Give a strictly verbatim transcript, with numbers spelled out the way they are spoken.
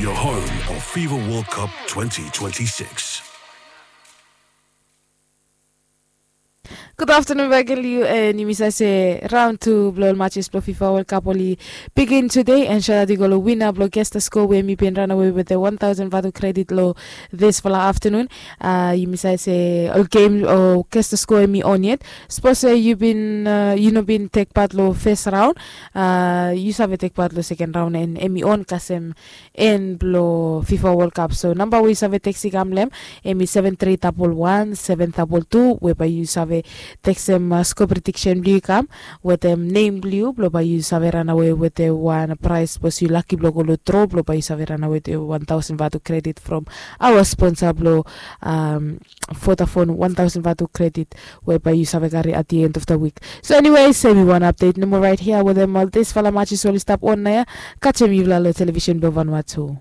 The home of FIFA World Cup twenty twenty-six. Gud aftanun bek long yu, and yumi save se raon tu blong ol matches blong FIFA World Cup oli bigin tude, and shout out i go long wina blong Kester Sko we hemi bin ranawe wetem wan taosen vatu kredit long disfala aftanun. Yumi save se ol gem o Kester Sko hemi on yet. Sapos se yu bin, yu no bin tek pat long fes raon, yu save tek pat long seken raon, and hemi on kasem en blong FIFA World Cup. So namba we yu save teksem i kam long hem, hemi seven three double one seven double two, we bae yu save teksem sko prediksen blong yu i kam wetem nem blong yu, blong bae yu save ranawe wetem wan praes sapos yu laki blong go long dro, blong bae yu save ranawe wetem wan taosen vatu kredit from aoa sponsa blong Vodafone, wan taosen vatu kredit we bae yu save kari at the end of the week. So eniwes, hemi wan apdet nomo raet hia wetem ol disfala matches oli stap on naoia. Kasem yufala long televisen blong Vanuatu.